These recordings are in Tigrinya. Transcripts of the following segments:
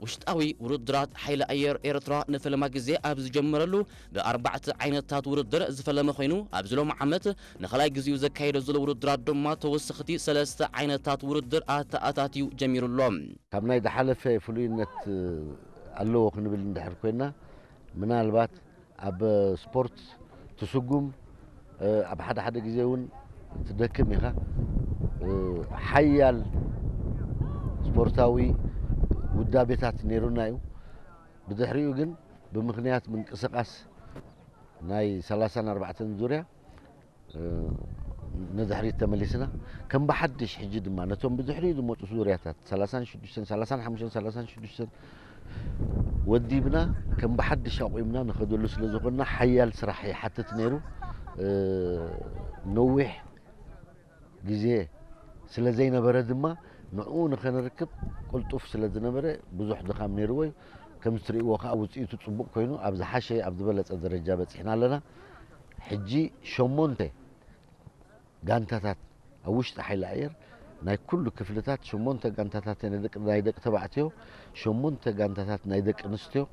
ውሽጣዊ ውድድራት ሓይሊ ኣየር ኤርትራ ንፈለማ ግዜ ኣብ ዝጀመረሉ ብኣርባዕተ ዓይነታት ውድድር ዝፈለመ ኮይኑ፣ ኣብዚ ሎም ዓመት ንኻልኣይ ግዜኡ ዘካየዶ ዘሎ ውድድራት ድማ ተወሰኽቲ ሰለስተ ዓይነታት ውድድር ኣተኣታትዩ ጀሚሩ ኣሎ። ካብ ናይ ዝሓለፈ ፍሉይነት ኣለዎ ክንብል እንድሕር ኮይና፣ ምናልባት ኣብ ስፖርት ትስጉም፣ ኣብ ሓደ ሓደ ግዜ እውን ትደክም ኢኻ። ሓያል ስፖርታዊ ውዳቤታት ነይሩና እዩ። ብድሕሪኡ ግን ብምኽንያት ምንቅስቓስ ናይ ሰላሳን ኣርባዕተን ዙርያ ንድሕሪት ተመሊስና፣ ከም ብሓድሽ ሕጂ ድማ ነቶም ብድሕሪኡ ዝመፁ ዙርያታት ሰላሳን ሽዱሽተን፣ ሰላሳን ሓሙሽተን፣ ሰላሳን ሽዱሽተን ወዲብና ከም ብሓድሽ ኣቑምና ንኸደሉ ስለ ዝኾንና፣ ሓያል ስራሕ ይሓትት ነይሩ። ነዊሕ ግዜ ስለ ዘይነበረ ድማ ንዕኡ ንኸንርክብ ቅልጡፍ ስለ ዝነበረ ብዙሕ ድኻም ነይርዎ እዩ። ከም እትርእይዎ ከዓ ውፅኢቱ ፅቡቕ ኮይኑ ኣብ ዝሓሸ ኣብ ዝበለፀ ደረጃ በፂሕና ኣለና። ሕጂ ሸሞንተ ጋንታታት ኣብ ውሽጢ ሓይሊ ኣየር ናይ ኩሉ ክፍልታት ሸሞንተ ጋንታታት ናይ ደቂ ናይ ደቂ ተባዕትዮ፣ ሸሞንተ ጋንታታት ናይ ደቂ ኣንስትዮ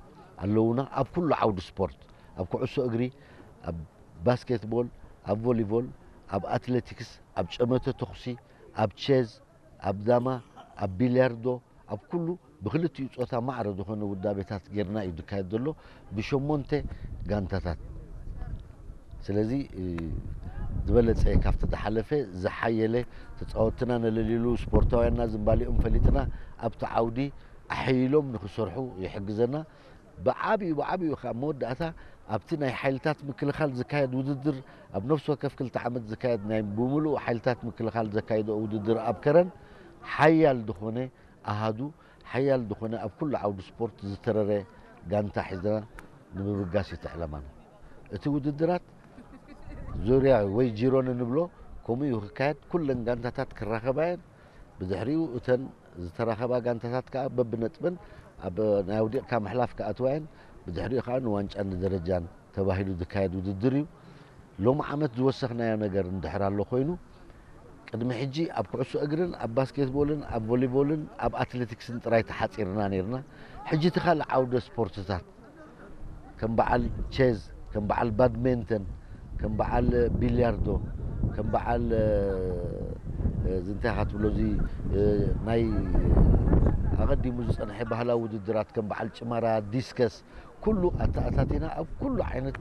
ኣለዉና። ኣብ ኩሉ ዓውዲ ስፖርት፣ ኣብ ኩዕሶ እግሪ፣ ኣብ ባስኬትቦል፣ ኣብ ቮሊቦል፣ ኣብ ኣትሌቲክስ፣ ኣብ ጨመተ ተኹሲ፣ ኣብ ቼዝ፣ ኣብ ዳማ፣ ኣብ ቢልያርዶ፣ ኣብ ኩሉ ብክልቲኡ ጾታ ማዕረ ዝኾነ ውዳቤታት ጌርና እዩ ዝካየድ ዘሎ ብሸሞንተ ጋንታታት። ስለዚ ዝበለጸ ካብቲ ዝሓለፈ ዝሓየለ ተጻወትና ነለልዩሉ ስፖርታውያንና ዝንባሊኦም ፈሊጥና ኣብቲ ዓውዲ ኣሐይሎም ንኽሰርሑ ይሕግዘና። ብዓብዩ ብዓብዩ ከዓ መወዳእታ ኣብቲ ናይ ሓይልታት ምክልኻል ዝካየድ ውድድር ኣብ ነፍሲ ወከፍ ክልተ ዓመት ዝካየድ ናይ ብምሉእ ሓይልታት ምክልኻል ዘካይዶ ውድድር ኣብ ከረን ሓያል ዝኾነ ኣሃዱ ሓያል ዝኾነ ኣብ ኩሉ ዓውዲ ስፖርት ዝተረረ ጋንታ ሒዝና ንምብጋስ እዩ እቲ ዕላማና። እቲ ውድድራት ዙርያ ወይ ጂሮን እንብሎ ከምኡ እዩ ክካየድ። ኩለን ጋንታታት ክራኸባ እየን። ብድሕሪኡ እተን ዝተራኸባ ጋንታታት ከዓ በብነጥብን ኣብ ናይ ኣውዲቕካ ምሕላፍ ክኣትዋ እየን። ብድሕሪኡ ከዓ ንዋንጫን ንደረጃን ተባሂሉ ዝካየድ ውድድር እዩ። ሎም ዓመት ዝወሰኽናዮ ነገር እንድሕር ኣሎ ኮይኑ ቅድሚ ሕጂ ኣብ ኩዕሶ እግርን ኣብ ባስኬትቦልን ኣብ ቮሊቦልን ኣብ ኣትሌቲክስን ጥራይ ተሓፂርና ነይርና። ሕጂ እቲ ካልእ ዓውደ ስፖርትታት ከም በዓል ቼዝ፣ ከም በዓል ባድሜንተን፣ ከም በዓል ቢልያርዶ፣ ከም በዓል እዚ እንታይ ኢኻ ትብሎ እዚ ናይ ኣቐዲሙ ዝፀንሐ ባህላዊ ውድድራት ከም በዓል ጭመራ፣ ዲስከስ ኩሉ ኣተኣታቲና ኣብ ኩሉ ዓይነት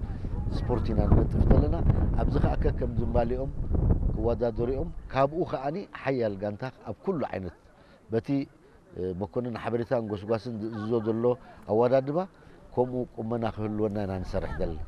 ስፖርት ኢና ንነጥፍ ዘለና። ኣብዚ ከዓ ከከም ዝንባሊኦም ክወዳደሩ እዮም። ካብኡ ከዓኒ ሓያል ጋንታ ኣብ ኩሉ ዓይነት በቲ መኮንን ሓበሬታን ጎስጓስን ዝእዝዞ ዘሎ ኣወዳድባ ከምኡ ቁመና ክህልወና ኢና ንሰርሕ ዘለና።